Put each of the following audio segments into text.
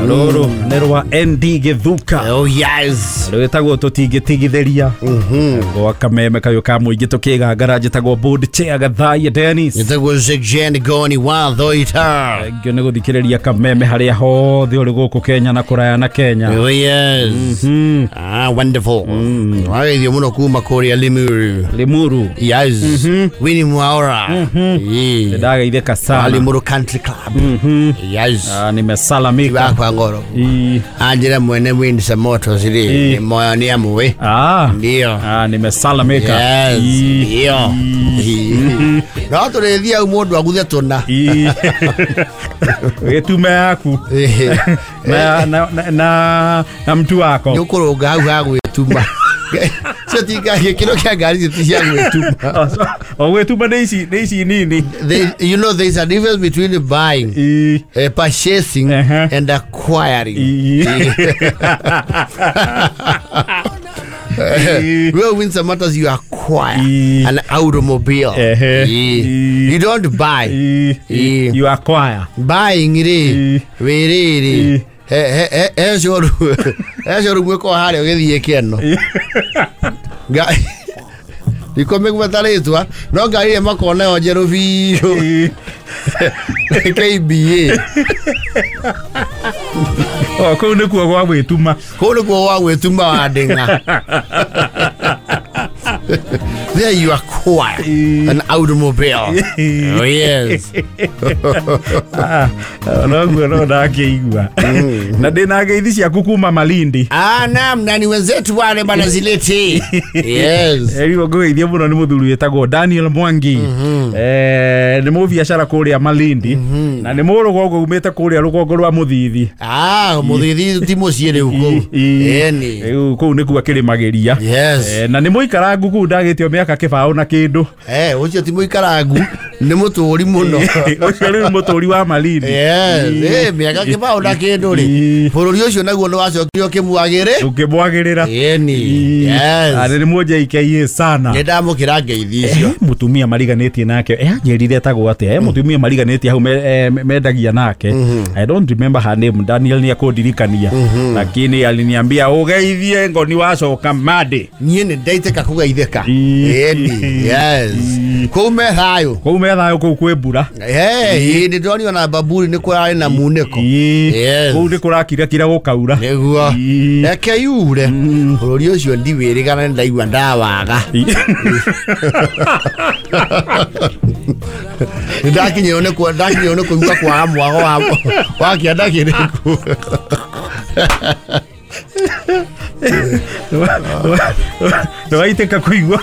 Rũrũ nĩ rwa ND Gĩthuka. Oh yes. Rwĩtagwo tũtingĩtigithĩria gwa kameme kayũ ka mũingĩ tũkĩgangara. Njĩtagwo board chair Gathaiya Dennis. Nĩtagwo Jean Goni wa Thoita. Thank you nĩ gũthikĩrĩria kameme harĩa hothe ũrĩ gũkũ Kenya na kũraya na Kenya. Oh yes. Ah, wonderful. Wageithio mũno kuma kũrĩa Limuru. Limuru. Yes. Winnie Mwaura. Yeah. Ndageithĩka sana. Limuru Country Club. Yes. Ah, nimesalamika. Wakwa ngoro. Anjĩra mwene Windsor Motors rĩ, nĩ moyo nĩ amũĩ. Ah. Ndio. Ah, nimesalamika. Yes. Ndio. No tũrĩthiĩ hau mũndũ aguthe tũna. Gĩtume yaku na, na, na, na, na mtu wako. Nĩ ũkũrũnga hau ha gwĩtuma. Cio ti gĩkĩro kĩa ngari icio ti cia gwĩtuma. O gwĩtuma nĩ ici nini. You know there is a difference between buying, purchasing and acquiring. Well, Windsor Motors, you acquire an automobile. You don't buy. You acquire. Buying rĩ, wĩ rĩrĩ, he showroom ĩkoragwo harĩa ũgĩthiĩ kĩeno. Ndikomĩgweta rĩtwa, no ngari ĩrĩa makoragwo nayo njerũ biũ KBA. O kũu nĩkuo gwa gwĩtuma. Kũu nĩkuo gwa gwĩtuma wa ndĩng'a. There you acquire an automobile. Oh yes. Ah, noguo no ndakĩigua na ndĩna ngeithi ciaku kuma Malindi. Ah, naam, na ni wenzetu wale bana zilete. Yes. Rĩu ngũgeithia mũno nĩ mũthuri wĩtagwo Daniel Mwangi. Nĩ mũbiacara kũrĩa Malindi na nĩ mũrũgongo umĩte kũrĩa rũgongo rwa Mũthithi. Ah, Mũthithi ti mũciĩ rĩu kũu. Ĩni. Rĩu kũu nĩkuo akĩrĩmagĩria. Na nĩ mũikarangu kũu, ndagĩtio mĩaka kĩbaũ na kĩndũ. Eh, ũcio ti mũikarangu, nĩ mũtũri mũno. Ũcio rĩu mũtũri wa Malindi. Yes, mĩaka kĩbaũ na kĩndũ rĩ. Bũrũri ũcio naguo nĩ wacokire ũkĩmwagĩrĩ. Ũkĩmwagĩrĩra. Ĩni. Yes. Nĩ mũnjeikeie sana. Nĩ ndamũkĩra ngeithi icio. Mũtumia mariganĩtie nake, anjĩrire etagwo atĩa, mũtumia mariganĩtie hau mendagia nake. I don't remember her name. Daniel nĩ akũndirikania, lakini aliniambia ũgeithie ngoni wacoka mande. Niĩ nĩ ndaitĩka kũgeithĩka. Ĩni. Yes. Kũu me thayũ. Kũu me thayũ, kũu kwĩ mbura. Eh, nĩ ndonio na Bamburi nĩ kũrarĩ na munĩko. Yes. Kũu nĩ kũrakirakira gũkaura. Nĩguo. Reke yure. Bũrũri ũcio ndiwĩrĩgana, nĩ ndaigua ndawaga. Nĩ ndakinyĩrwo nĩ kũigua kwaga mwago wa kĩanda kĩrĩkũ. Nĩwaitĩka kũigua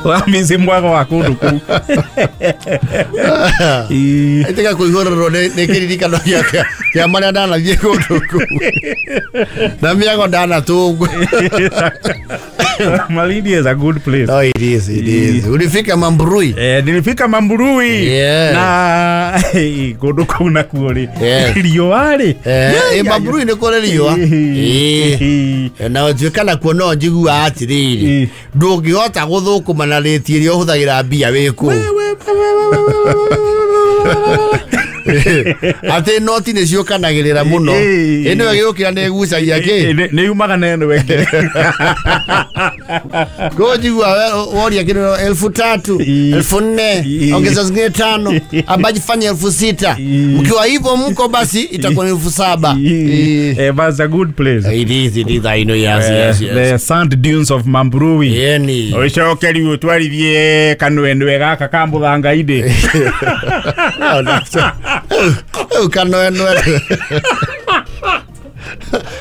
wamici mwago wa kũndũ kũu. Ĩtĩka kũihũrĩrwo nĩ kĩririkano kĩa marĩa ndanathiĩ kũndũ kũu na mĩago ndanatũngwo. Malindi is a good place. No, it is, it is. Ulifika Mambrui? Eh, nilifika Mambrui. Na kũndũ kũu nakuo rĩ, riũa rĩ. Eh, Mambrui nĩ kũrĩ riũa. Na ũtuĩka nakuo no njiguaga atĩrĩrĩ, ndũngĩhota gũthũkũma na rĩti ĩrĩa ũhũthagĩra mbia wĩ kũu, atĩ noti nĩ ciũkanagĩrĩra mũno. Ĩno ĩgĩũkĩra nĩ ĩgucagia kĩ. Nĩ yumaga na ĩno ĩngĩ. Kwa njigua woria kĩndũ 3,000, 4,000, ongeza zingine tano ambaji fanya 6,000. Mkiwa hivyo mko basi itakuwa ni 7,000. Eh, that's a good place. It is, it is, I know, yes. The sand dunes of Mambrui. Yeni. Ũcoke rĩu ũtwarithie kanwenwe gaka ka mũthanga-inĩ. No, rĩu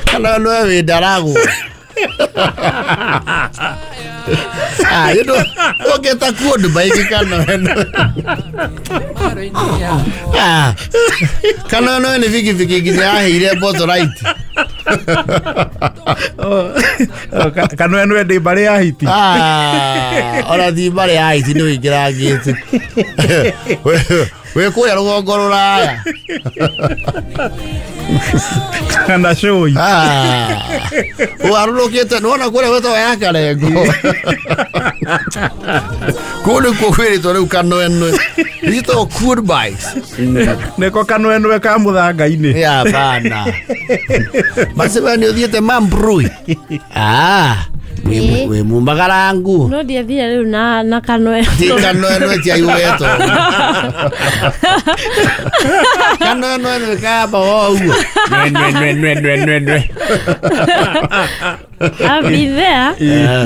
kanwenwe wĩ ndaragwo. Ah, you know, ũngĩta kuo ndũmaingĩ kanwenwe. Ah, kanwenwe nĩ bikibiki nginya yaheire motorite. Kanwenwe ndĩ mbarĩ ya hiti. Ah, ona ti mbarĩ ya hiti, nĩ ũingĩrangĩte. Wĩ kũrĩa rũgongo rũraya. Kana cũi. Ah, ũgarũrũkĩte nĩwona kũrĩa gwĩtagwo ya Karengo. Kũu nĩkuo kwĩrĩtwo rĩu kanwenwe. Nĩcitagwo quad bikes. Nĩko kanwenwe ka mũthanga-inĩ. Ya bana. Basi we nĩ ũthiĩte Mambrui. Ah, wĩ mumagarangu. No ndiathire rĩu na kanwenwe. Ti kanwenwe ti aiwetwo. Kanwenwe nĩ kamba o ũguo. Nwe nwe nwe nwe nwe. I've been there.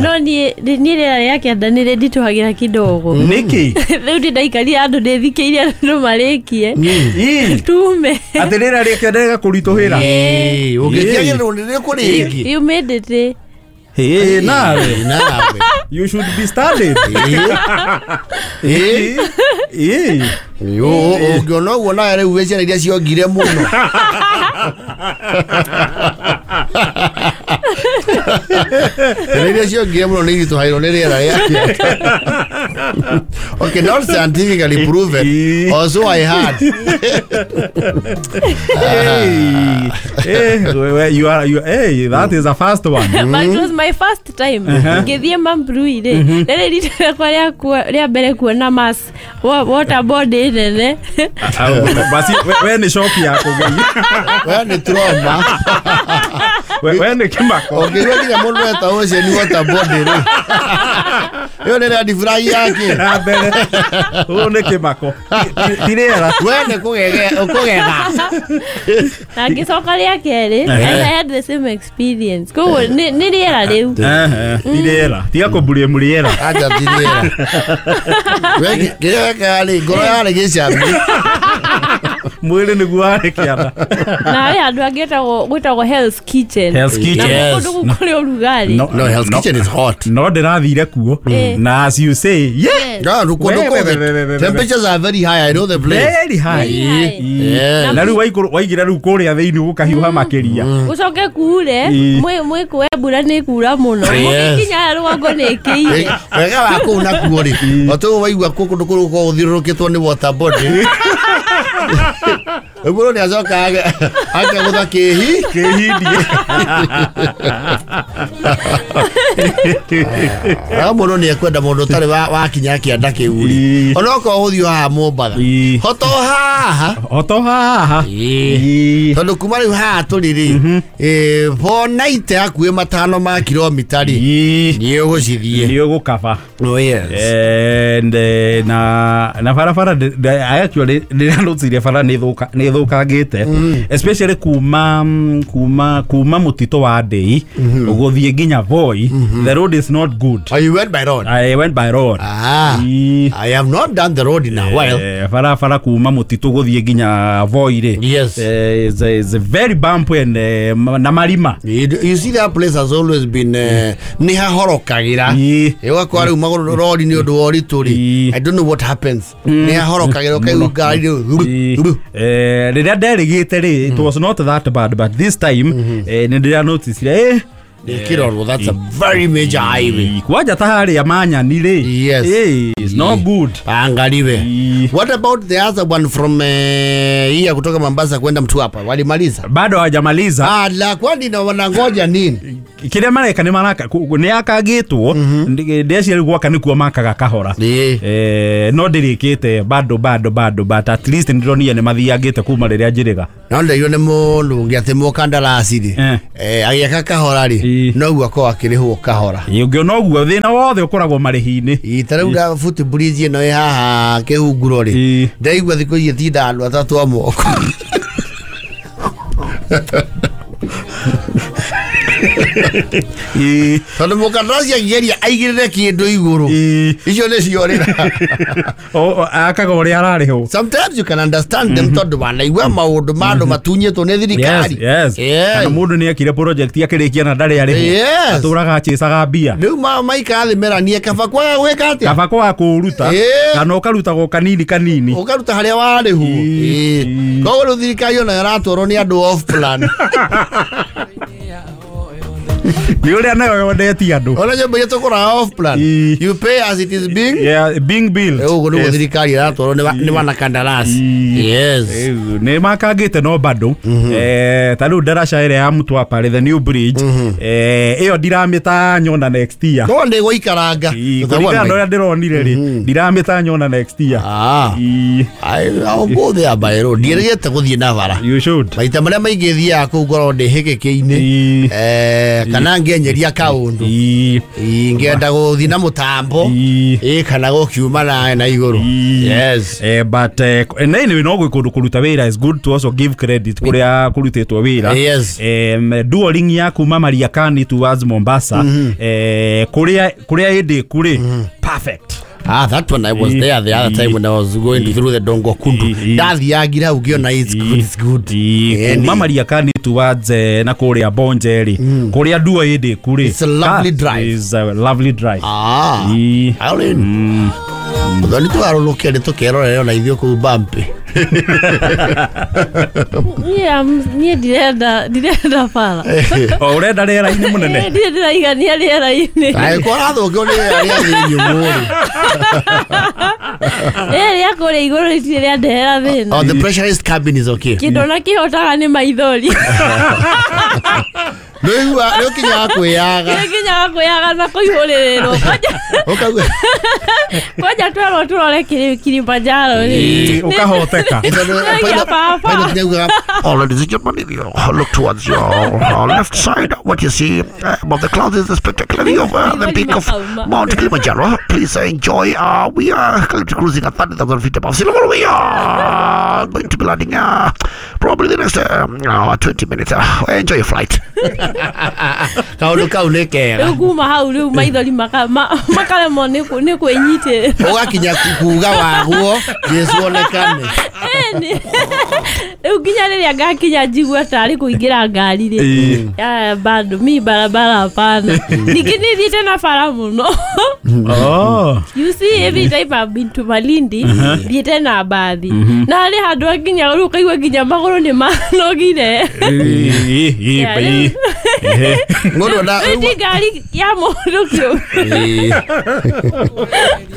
No niĩ rĩera rĩa kĩanda nĩ rĩnditũhagĩra kidogo. Nĩkĩ? Rĩu ndĩndaikarire andũ ndĩthikĩirie andũ marĩkie. Tume. Atĩ rĩera rĩa kĩanda rĩgakũritũhĩra. Ũngĩtiagĩrĩrwo nĩ rĩkũ rĩngĩ. Humidity. Hey, nawe. Nawe. You should be studied. Ũngĩona ũguo nawe rĩu wĩ ciana iria ciongire mũno. Ciana iria ciongire mũno nĩ iritũhagĩrwo nĩ rĩera rĩa kĩanda. Okay, not scientifically proven. Also I had. Hey, you are hey, that is a fast one. But it was my first time. Ngĩthiĩ Mambrui rĩ, rĩrĩ rita rĩakwa rĩa mbere kuona mass water body nene. Basi we nĩ shock ya kũgeia. We nĩ trauma. We nĩ kĩmako. Ũngĩigua nginya mũndũ eta ocean water body rĩ. Ĩyo nĩ red flag yake. Na mbere. Ũyũ nĩ kĩmako. Ti rĩera. We nĩ kũgega. Na ngĩcoka rĩa kerĩ, and I had the same experience. Koguo nĩ rĩera rĩu. Ti rĩera. Tiga kũmburie rĩera. Acha ti rĩera. We kĩrĩa wekaga rĩ, ngoro yarĩ gĩcambi. Mwĩrĩ nĩguo warĩ kĩanda. Na harĩ handũ hangĩ gwĩtagwo Hell's Kitchen. Hell's Kitchen. Na kũndũ kũu kũrĩ ũrugarĩ. No, Hell's Kitchen is hot. No ndĩrathire kuo. Na as you say, yeah. No, temperatures are very high. I know the place. Very high. Yeah. Na rĩu waigĩra rĩu kũrĩa thĩinĩ gũkahiũha makĩria. Gũcoke kuure, mwĩkũe mbura nĩ kura mũno. Mũgĩkinya rũgongo nĩ ĩkĩire. Wega wa kũu nakuo rĩ, o ta ũguo waigua kũndũ kũu gũkoragwo gũthiũrũrũkĩtwo nĩ water body. Mũndũ nĩ acoka akegũtha kĩhindie. Mũndũ nĩ ekwenda mũndũ ũtarĩ wakinya kĩanda kĩu rĩ. Onokorwo ũthiĩ haha Mombatha. Hoto haha. Hoto haha. Tondũ kuma rĩu haha tũrĩ rĩ, 490 hakuhĩ 5 ma kilomita rĩ, nĩ ũgũcithiĩ. Nĩ ũgũkaba. Oh yes. And na barabara I actually ndĩranotire bara nĩ thũkangĩte, especially kuma mũtitũ wa Ndei ũgũthiĩ nginya Voi. The road is not good. Oh, you went by road? I went by road. Ah, I have not done the road in a while. Barabara kuma mũtitũ gũthiĩ nginya Voi rĩ. Yes. Is a very bumpy and na marima. You see that place has always been nĩ hahorokagĩra. Ĩgakora rĩu magũrũ rori nĩ ũndũ wa ũritũ rĩ. I don't know what happens. Nĩ hahorokagĩra ũkaigua ngari rĩu. Rĩrĩa nderĩgĩte rĩ, it was not that bad, but this time nĩ ndĩranoticire Kirorwo, that's a very major highway. Kwanja ta harĩa Manyani rĩ. Yes. It's not good. Angaliwe. What about the other one from hii kutoka Mombasa kwenda Mtwapa? Walimaliza? Bado hawajamaliza. Ah, la kwani na wanangoja nini? Kĩrĩa mareka nĩ maraka nĩ akagĩtwo ndeciria gwaka nĩkuo makaga kahora. No ndĩrĩkĩte bado but at least ndĩronire nĩ mathiangĩte kuma rĩrĩa njĩrĩga. No ndĩrio nĩ mũndũ ũngĩ atĩ mũkandarasi rĩ. Agĩaka kahora rĩ. No guo akorwo akĩrĩhwo kahora. Ũngĩona ũguo thĩna wothe ũkoragwo marĩhi-inĩ. Ta rĩu da foot bridge ĩno ĩ haha kĩhunguro rĩ. Ndaigua thikũ ici ĩtindaga andũ atatũ a moko. Tondũ mũkandarasi angĩgeria aigĩrĩre kĩndũ igũrũ, icio nĩ ciorĩra. Akaga ũrĩa ararĩhwo. Sometimes you can understand them tondũ wanaigua maũndũ ma andũ matunyĩtwo nĩ thirikari. Yes. Kana mũndũ nĩ ekire project akĩrĩkia na ndarĩ arĩhwo. Atũraga achĩcaga mbia. Rĩu maikara thĩ meranie kaba kwaga gwĩka atĩa? Kaba kwaga kũũruta kana ũkarutagwo kanini kanini. Ũkaruta harĩa warĩhwo. Koguo rĩu thirikari onayo ĩratwarwo nĩ andũ off plan. Nĩ ũrĩa nayo yondetie andũ. Ona nyũmba iria tũgũraga off plan, you pay as it is being, yeah, being built. Ũguo nĩguo thirikari ĩratwarwo nĩ wanakandarasi. Yes. Nĩ makangĩte no bado ta rĩu ndaraca ĩrĩa ya Mtwapa the new bridge, ĩyo ndiramĩta nyona next year. No nĩ gũikaranga. Kũringana na ũrĩa ndĩronire rĩ, ndiramĩta nyona next year. I'll go there by road. Ndiĩrĩgĩte gũthiĩ na bara. You should. Maita marĩa maingĩ thiaga kũu ngorwo ndĩ hĩgĩkĩ-inĩ, kana ngĩenyeria kaũndũ, ngĩenda gũthiĩ na mũtambo, kana gũkiuma na igũrũ. Yes. But anyway, no gwĩ kũndũ kũruta wĩra is good to also give credit kũrĩa kũrutĩtwo wĩra. Yes. Duoling ya kuma Mariakani towards Mombasa, kũrĩa ĩndĩ kũrĩ perfect. Ah, that one I was there the other time when I was going through the Dongo Kundu. Ndathiangira hau ngĩona it's good, it's good. Kuma Mariakani towards na kũrĩa Bonje rĩ, kũrĩa duo ĩndĩ kũrĩ. It's a lovely drive. It's a lovely drive. Ah. Mũthoni tũgarũrũke nĩ tũkerorere ona ithuĩ kũu bumpy. Niĩ ndirenda bara. O ũrenda rĩera-inĩ mũnene? Ndirĩ ndĩraigania rĩera-inĩ. Angĩkorwo ũrathũkio nĩ rĩera rĩa thĩ nyũmũ rĩ. Rĩera rĩa kũrĩa igũrũ rĩtirĩ rĩandehera thĩna. Oh, the pressurized cabin is okay. Kĩndũ ona kĩhotaga nĩ maithori. Nĩũigua nĩũkinyaga kwĩyaga. Nĩnginyaga kwĩyaga na kũihũrĩrĩrwo. Ũkauga kwanja twerwo tũrore Kilimanjaro rĩ. Ũkahoteka. Pilot nĩaugaga, Oh, ladies and gentlemen, if you look towards your left side, what you see above the clouds is the spectacular view of the peak of Mount Kilimanjaro. Please enjoy. We are currently cruising at 30,000 feet above sea level. We are going to be landing probably the next 20 minutes. Enjoy your flight. Kaũndũ kau nĩ kega. Rĩu kuma hau rĩu maithori makaremwo nĩ kwĩnyitĩrĩra. Ũgakinya kuga waguo Jesu onekane. Rĩu nginya rĩrĩa ngakinya njigua tarĩ kũingĩra ngari rĩ, bado mi barabara hapana. Ningĩ nĩ thiĩte na bara mũno. You see, every time I've been to Malindi, thiĩte na mbathi. Na harĩ handũ hakinya rĩu ũkaigua nginya magũrũ nĩ manogire. Mũndũ na ti ngari ya mũndũ kĩũmbe.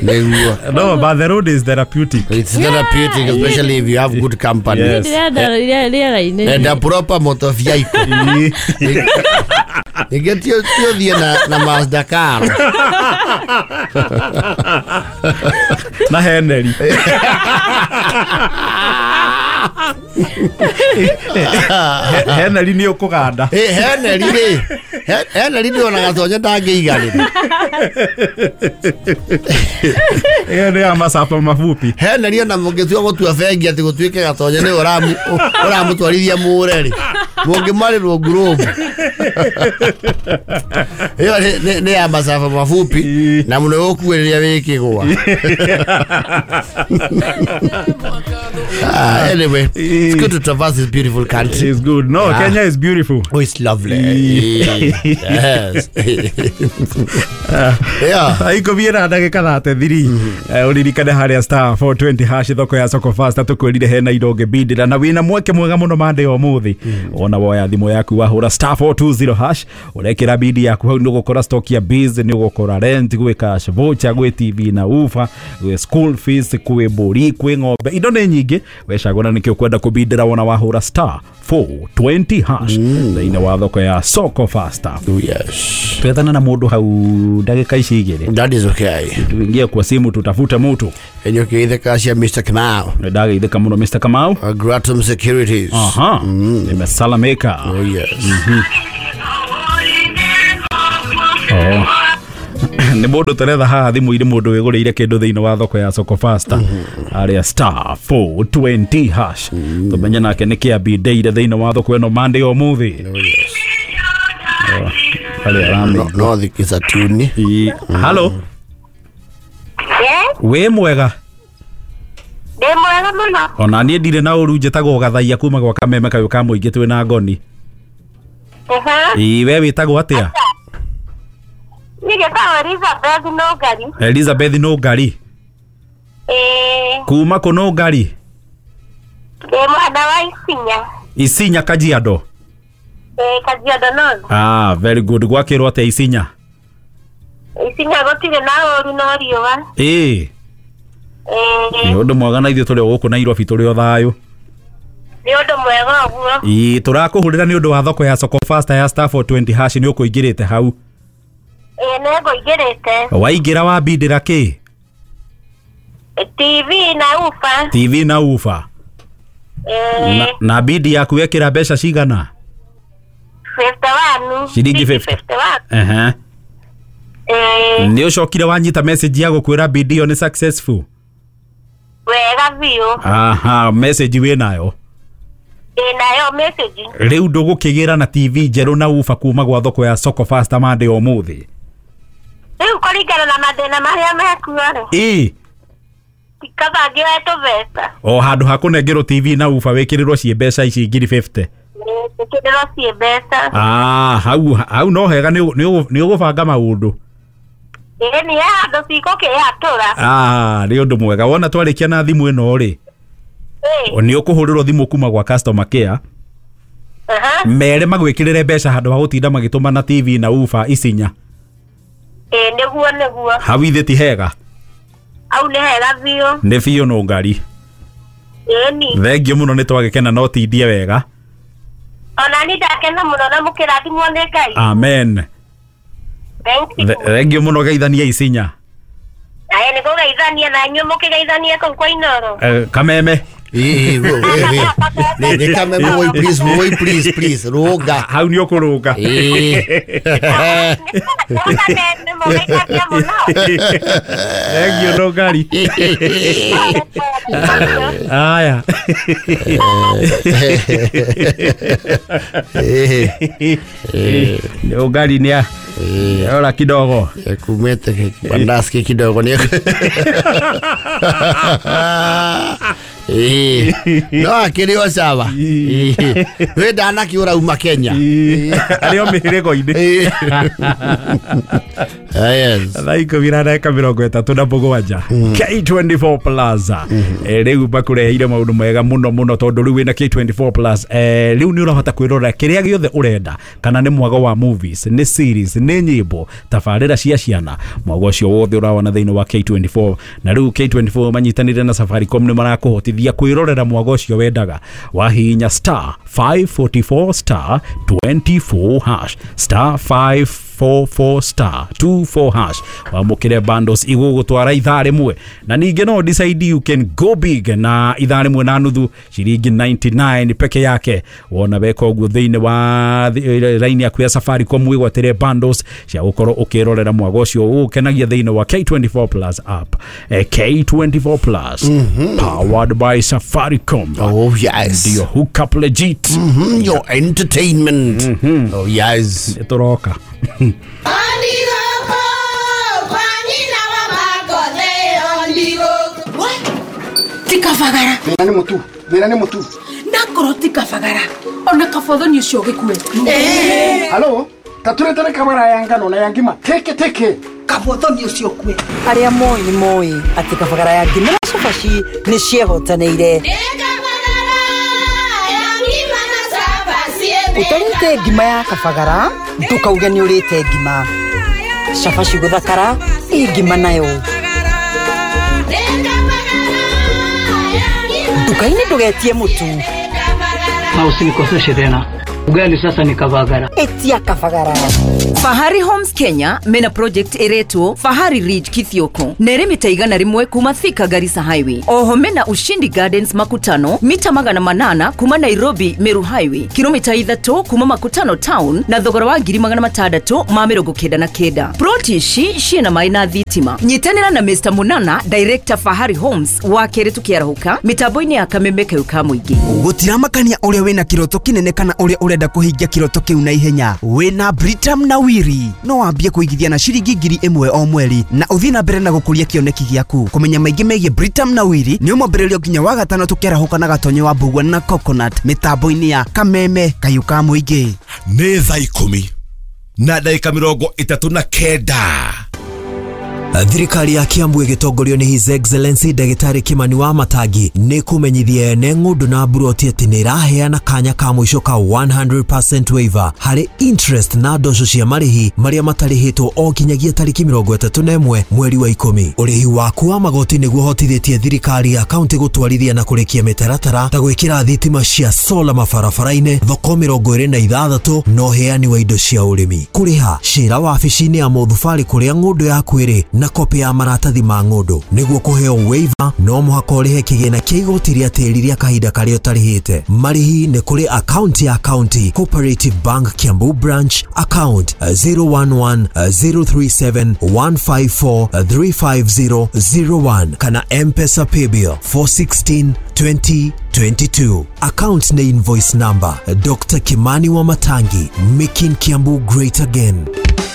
Nĩguo. No, but the road is therapeutic. It's therapeutic, especially if you have good company. Yes. And a proper motor vehicle. Ningĩ ti ũthiĩ na Mazda car. Na Henry. Henry nĩ ũkũganda. Henry rĩ. Henry nĩ ona gatonye ndangĩiganĩra. Ĩyo nĩ ya macapa mafupi. Henry ona mũngĩtua gũtua bengi atĩ gũtuĩke gatonye nĩ ũramũtwarithia mũre rĩ. Mũngĩmarĩrwo ngurubu. Ĩyo nĩ ya macaba mafupi na mũno ũkuĩrĩria wĩ kĩgwa. Anyway, it's good to traverse this beautiful country. It's good. No, yeah. Kenya is beautiful. Oh, it's lovely. Yes. Yeah. Aikũthiĩra ndagĩka 33. Ũririkane harĩa star 420 hash thoko ya Soko Fast tũkwĩrire hena indo ũngĩbindĩra na wĩna mweke mwega mũno mande ya ũmũthĩ. Ona woya thimũ yaku wahũra star 420 hash ũrekĩra bidi yaku hau nĩũgũkora stock ya biz, nĩũgũkora rent, gwĩ cash voucher, gwĩ TV na ufa, gwĩ school fees, kwĩ mbũri, kwĩ ng'ombe, indo nĩ nyingĩ. Wecagũra nĩkĩ ũkwenda kũbindĩra wona wahũra star 420 hash thĩinĩ wa thoko ya Soko Fast. Yes. Twethana na mũndũ hau ndagĩka ici igĩrĩ. That is okay. Tuingie kwa simu tutafute mtu. Enyo cia Mr. Kamau. Ndageithĩka mũno Mr. Kamau. Gratum Securities. Aha. Nimesalamika. Oh yes. Oh. Nĩ mũndũ tũretha haha thimũ-inĩ mũndũ wĩgũrĩire kĩndũ thĩinĩ wa thoko ya Soko Fast arĩa star 420 hash tũmenye nake nĩ kĩambindĩire thĩinĩ wa thoko ĩno Monday ũmũthĩ. Oh yes. Arĩa aramĩ. No thikisa tuni. Hello. Yes. Wĩ mwega? Ndĩ mwega mũno. Ona niĩ ndirĩ na ũru, njĩtagwo Gathaia kuma gwa Kameme kayũ ka mũingĩ twĩ na Ngoni. Ĩĩ, we wĩtagwo atĩa? Niĩ njĩtagwo Elizabeth Nũngari. Elizabeth Nũngari. Ĩĩ. Kuma kũ Nũngari? Ndĩ mwena wa Isinya. Isinya Kajiado? Kajiado North. Ah, very good. Gwakĩrwo atĩa Isinya? Isinya gũtirĩ na ũru no riũa. Ĩĩ. Nĩ ũndũ mwega na ithuĩ tũrĩ o gũkũ Nairobi tũrĩ o thayũ. Nĩ ũndũ mwega ũguo. Ĩĩ, tũrakũhũrĩra nĩ ũndũ wa thoko ya Soko Fasta ya star 420 hash nĩ ũkũingĩrĩte hau. Ĩĩ, nĩ ngũingĩrĩte. Waingĩra wambindĩra kĩ? TV na ufa. TV na ufa. Ĩĩ. Na bidi yaku wekĩra mbeca cigana? 51. Ciringi 51. Ehe. Nĩ ũcokire wanyita message ya gũkwĩra bidi ĩyo nĩ successful? Wega biũ. Aha, message wĩ nayo? Ĩ nayo message. Rĩu ndũgũkĩgĩra na TV njerũ na ufa kuma gwa thoko ya Soko Fasta Monday ũmũthĩ. Rĩu kũringana na mathĩna marĩa mekuo rĩ. Ĩĩ. Kaba ngĩoe tũbeca. O handũ ha kũnengerwo TV na ufa wĩkĩrĩrwo ciĩ mbeca ici ngiri 50. Wĩkĩrĩrwo ciĩ mbeca. Ah, hau no hega nĩ ũgũbanga maũndũ. Ĩĩ, nĩ handũ cikũkĩhatũra. Ah, nĩ ũndũ mwega. Wona twarĩkia na thimũ ĩno rĩ, nĩ ũkũhũrĩrwo thimũ kuma gwa customer care. Mere magwĩkĩrĩre mbeca handũ ha gũtinda magĩtũma na TV na ufa Isinya. Ĩĩ, nĩguo. Hau ithe ti hega? Au nĩ hega biũ. Nĩ biũ no ngari. Ĩni. Thengiũ mũno nĩ twagĩkena no tindie wega. Ona ni ndakena mũno na mũkĩrathimwo nĩ Ngai. Amen. Thank you. Thengiũ mũno geithania Isinya. Aye, nĩ kũgeithania na inyuĩ mũkĩgeithania kũu kwa Inoro. Kameme. Ĩĩ, nĩ kameme, woi please, woi please, please, rũnga. Hau nĩ ũkũrũnga. Ĩĩ. Kameme mũgeithania mũno. Thengiũ no ngari. Aya. Ũgari nĩ ora kidogo. Kumete bandaski kidogo nĩ. No akĩrĩ o sawa. Wĩ ndanakĩũra uma Kenya. Arĩ o mĩhĩrĩgo-inĩ. Yes. Thaa 10:37 K24 Plaza. Rĩu makũreheire maũndũ mega mũno mũno tondũ rĩu wĩna K24 Plus. Rĩu nĩ ũrahota kwĩrorera kĩrĩa gĩothe ũrenda, kana nĩ mwago wa movies, nĩ series, nĩ nyĩmbo, tabarĩra cia ciana, mwago ũcio wothe ũrawona thĩinĩ wa K24. Na rĩu K24 manyitanĩire na Safaricom nĩ marakũhotithia kwĩrorera mwago ũcio wendaga. Wahihinya star 544 star 24 hash star 544 star 24 hash wamũkĩre bundles igũgũtwara ithaa rĩmwe. Na ningĩ no decide you can go big na ithaa rĩmwe na nuthu ciringi 99 peke yake. Wona weka ũguo thĩinĩ wa line yaku ya Safaricom wĩgwatĩre bundles cia gũkorwo ũkĩrorera mwago ũcio ũgũkenagia thĩinĩ wa K24 Plus app. K24 Plus powered by Safaricom. Oh yes. Your hookup legit. Your entertainment. Oh yes. Tũroka. Tikabagara. Thĩna nĩ mũtu. Ndakorwo tikabagara. Ona kabotho nĩ ũcio ũgĩkue. Halo, taturetere kabara ya ngano na ya ngima. Teke teke. Kabotho nĩ ũcio ũkue. Arĩa moĩ nĩ moĩ atĩ kabagara ya ngima na cabaci nĩ ciehotanĩire. Ũtarĩte ngima ya kabagara ndũkauge nĩ ũrĩte ngima. Cabaci gũthakara ĩ ngima nayo. Nduka-inĩ ndũgetie mũtu. Na usinikoseshe tena. Ugali sasa ni kabagara. Etia kabagara. Fahari Homes Kenya mena project iretwo Fahari Ridge Kithioko nere mita 101 kuma Thika Garissa Highway. Oho mena Ushindi Gardens Makutano mita 800 kuma Nairobi Meru Highway, kilomita 3 kuma Makutano Town na thogora wa 699. Ploti ici ciena mai na thitima. Nyitanĩra na Mr Munana Director Fahari Homes wa kerĩ tukiarahũka mitambo-inĩ ya kameme kau ka mũingĩ. Gũtiramakania ũrĩa wĩna kĩroto kĩnene kana ũrĩa ũrenda kũhingia kĩroto kĩu na ihenya. Wĩna Britam na Wiri no wambie kũigithia na ciringi 1,000 o mweri na ũthiĩ na mbere na gũkũria kĩoneki gĩaku. Kũmenya maingĩ megiĩ Britam na Wiri nĩ ũmwambĩrĩrio nginya wa gatano tũkĩarahũka na Gatonyo wa Mbugua na Coconut mĩtambo-inĩ ya kameme kayũ ka mũingĩ. Nĩ thaa 10 na ndagĩka 39. Thirikari ya Kiambu ĩgĩtongorio nĩ His Excellency Ndagĩtarĩ Kimani wa Matangi nĩ kũmenyithia ene ng'ũndũ na mburoti atĩ nĩ ĩraheana kanya ka mũico ka 100% waiver harĩ interest na ndoco cia marĩhi marĩa matarĩhĩtwo o kinyagia tarĩki 31 mweri wa 10. Ũrĩhi waku wa magoti nĩguo ũhotithĩtie thirikari ya kaunti gũtwarithia na kũrĩkia mĩtaratara ta gwĩkĩra thitima cia sola mabarabara-inĩ, thoko 26 na ũheani wa indo cia ũrĩmi. Kũrĩha cira wabici-inĩ ya mũthubarĩ kũrĩa ng'ũndũ yaku ĩrĩ na kopi ya maratathi ma ng'ũndũ. Nĩguo kũheo waiver no mũhaka ũrĩhe kĩgĩna kĩa igoti rĩa tĩri rĩa kahinda karĩa ũtarĩhĩte. Marĩhi nĩ kũrĩ akaunti ya County Cooperative Bank Kiambu Branch, account 011 037 154 350 01 kana M-Pesa Paybill 416 2022. Account na invoice number Dr. Kimani wa Matangi, making Kiambu great again.